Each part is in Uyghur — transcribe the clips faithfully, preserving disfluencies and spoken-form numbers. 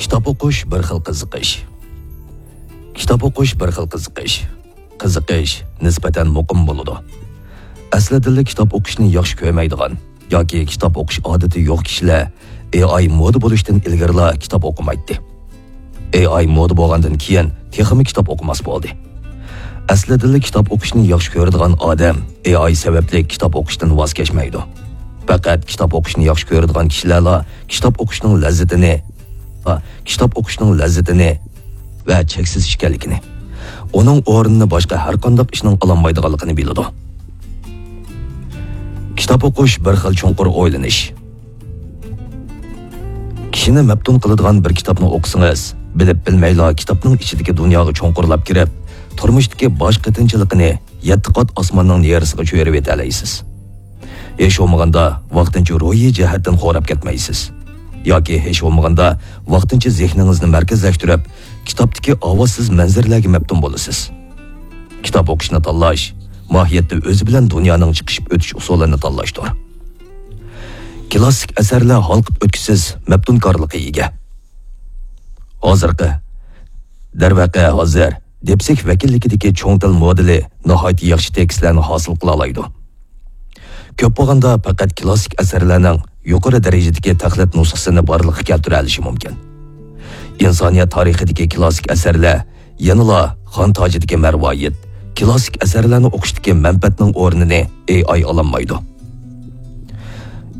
كىتاب ئوقۇش بىر خىل قىزىقىش. كىتاب ئوقۇش بىر خىل قىزىقىش. قىزىقىش نىسبەتەن مۇقىم بولىدۇ. ئەسلىدىنلا كىتاب ئوقۇشنى ياخشى كۆرمەيدىغان ياكى كىتاب ئوقۇش ئادىتى يوق كىشىلەر ئېي ئاي مودا بولۇشتىن ئىلگىرىلا كىتاب ئوقۇمايتتى. ئېي ئاي مودا بولغاندىن كېيىن تېخىمۇ كىتاب ئوقۇماس بولدى. ئەسلىدىلا كىتاب ئوقۇشنى ياخشى كۆرىدىغان ئادەم ئېي ئاي سەۋەبلىك كىتاب ئوقۇشتىن ۋاز كەچمەيدۇ. پەقەت كىتاب ئوقۇشنى ياخشى كۆرىدىغان كىشىلەرلا كىتاب ئوقۇشنىڭ لەززىتىنى، كىتاب ئوقۇشنىڭ لەززىتىنى ۋە چەكسىز ئىكەنلىكىنى، ئۇنىڭ ئورنىنى باشقا ھەر قانداق ئىشنىڭ ئالالمايدىغانلىقىنى بىلىدۇ. كىتاب ئوقۇش بىر خىل چوڭقۇر ئويلىنىش. كىشىنى مەپتۇن قىلىدىغان بىر كىتابنى ئوقۇسىڭىز، بىلىپ بىلمەيلا كىتابنىڭ ئىچىدىكى دۇنياغا چوڭقۇرلاپ كىرىپ، تۇرمۇشتىكى باش قېتىنچىلىقىنى يەتتە قات ئاسماننىڭ نېرىسىغا چۆرۈۋېتەلەيسىز. ھېچ بولمىغاندا ۋاقتىنچە روھىي جەھەتتىن خوراپ كەتمەيسىز. ياكى ھېچ بولمىغاندا ۋاقتىنچە زېھنىڭىزنى مەركەزلەشتۈرۈپ، كىتابتىكى ئاۋازسىز مەنزىرىلەرگە مەپتۇن بولىسىز. كىتاب ئوقۇشنى تاللاش، ماھىيەتتە ئۆزى بىلەن دۇنيانىڭ چىقىشىپ ئۆتۈش ئۇسۇلىنى تاللاشتۇر. كلاسسىك ئەسەرلەر ھالقىپ ئۆتكۈسىز مەپتۇنكارلىققا ئىگە. ھازىرقى، دەرۋەقە، ھازىر دېپسىك ۋەكىللىكىدىكى چوڭ تىل مودېلى ناھايىتى ياخشى تېكىستلەرنى ھاسىل قىلالايدۇ. كۆپ بولغاندا پەقەت كلاسسىك ئەسەرلەرنىڭ يۇقىرى دەرىجىدىكى تەقلىد نۇسخىسىنى بارلىققا كەلتۈرەلىشى مۇمكىن. ئىنسانىيەت تارىخىدىكى كلاسسىك ئەسەرلەر يەنىلا خان تاجىدىكى مەرۋايىت، كلاسسىك ئەسەرلەرنى ئوقۇشتىكى مەنپەئەتنىڭ ئورنىنى ئېي ئاي ئالالمايدۇ.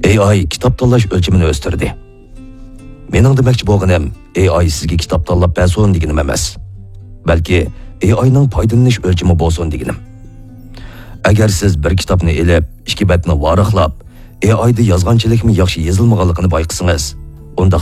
ئېي ئاي كىتاب تاللاش ئۆلچىمىنى ئۆستۈردى. مېنىڭ دېمەكچى بولغىنىم، ئېي ئاي سىزگە كىتاب تاللاپ بەرسۇن دېگىنىم ئەمەس. بەلكى ئېي ئاينىڭ پايدىلىنىش ئۆلچىمى بولسۇن دېگىنىم. ئەگەر سىز بىر كىتابنى ئېلىپ، ئىككى بەتنى ۋاراقلاپ، ئېي ئايدا يازغانچىلىكمۇ ياخشى يېزىلمىغانلىقىنى بايقىسىڭىز،